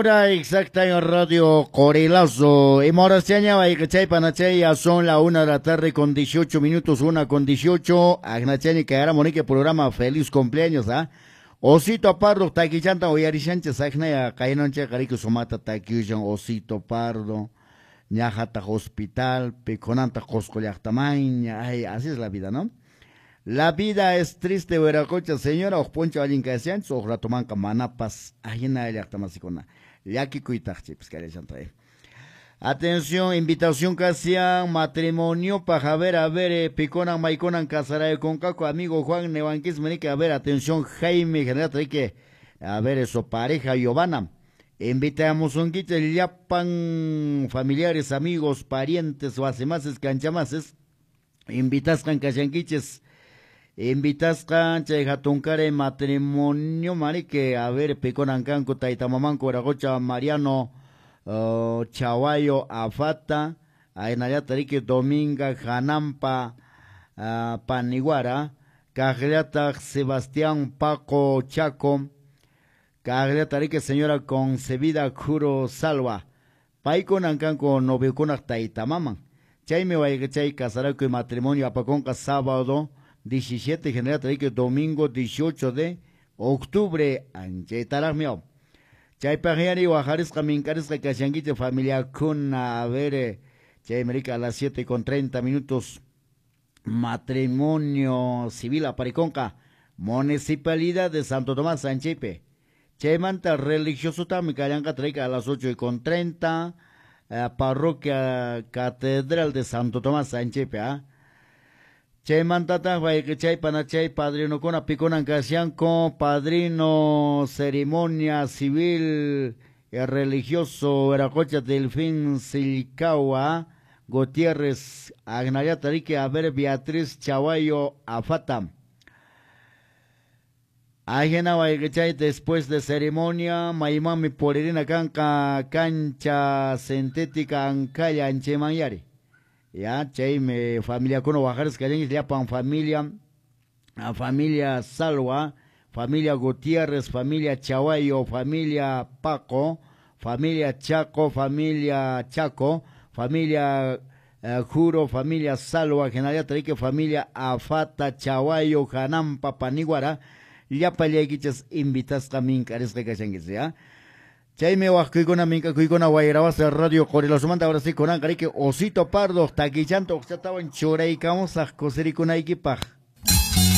Hora exacta en Radio Corelazo. Imoraschaña, chay ya son la 1 de la tarde con 18 minutos, 1:18. Agnachaña, que ahora monique programa Feliz cumpleaños, ¿ah? Osito Pardo, taquichanta, oyarishancha, sagnaya, kainonche, carico sumata, taquiushan, Osito Pardo, ñajata hospital, peconanta, cosco llaqtamaña, ay, así es la vida, ¿no? La vida es triste, Veracocha, señora, ojponcho, alguien que hacían, ojratomanca, manapas, ajina, llaqtamasikuna, llakikuytaqchi, pues, que ahí. Atención, invitación que hacían, matrimonio, para a ver, piconan, maiconan, casaray con caco, amigo Juan Nevanquis, menique, a ver, atención, Jaime, general, que, a ver, eso, pareja Giovanna. Invitamos un quiche, llapan, familiares, amigos, parientes, wasemases, canchamases, invitascan, cashanquiches, invitascan, chay jatuncare, matrimonio, marique, a ver, piconan, canco, taitamamanco, Veracocha, Mariano, Chawayo, Afata, Ainayata, Rique, Dominga, Janampa, Paniguara, Cajliata, Sebastián, Paco, Chaco, Cajliata, Rique, señora Concebida, Juro, Salva, Paico, Nancanco, Noviocuna, Taitamaman, Chayme, Guayachay, Casaraco y matrimonio, Apaconca, sábado 17, general, Rique, domingo 18 de octubre, Anchetaragmio. Chaypajyari, Guajarisca, Mincarisca, Cachanguite, familia Cuna, a ver, Chay América a las 7:30, matrimonio civil a Pariconca, Municipalidad de Santo Tomás, Sanchipe. Chaymanta religioso también, Callanca, Traica a las 8:30, Parroquia Catedral de Santo Tomás, Sanchipe, ¿ah? Chaymantata, chay panachay, padrino con piconan casianco, padrino ceremonia civil y religioso, Veracocha, Delfín, Silcawa, Gutiérrez, Agnayata, Rique, a ver, Beatriz, Chawayo, Afata. Ajena, chay, después de ceremonia, Maimami, Poririna, Canca, cancha sintética, Ancaya, Anchemayari. Ya, chay, me familia con bajares que ya pan familia, a familia Salwa, familia Gutiérrez, familia Chawayo, familia Paco, familia Chaco, familia Chaco, familia Juro, familia Salwa, General Trique, familia Afata, Chawayo, Janampa, Paniguara, ya paliaquichas invitas mincares que cachanguis, ya. Chaymi waqkuykuna minkakuykuna wayrawasa Radio Qorilosumanta ahora sí kunan qariqui Osito Pardo taquichanto uqchatawan churaykamusaq kusirikunaykipaq.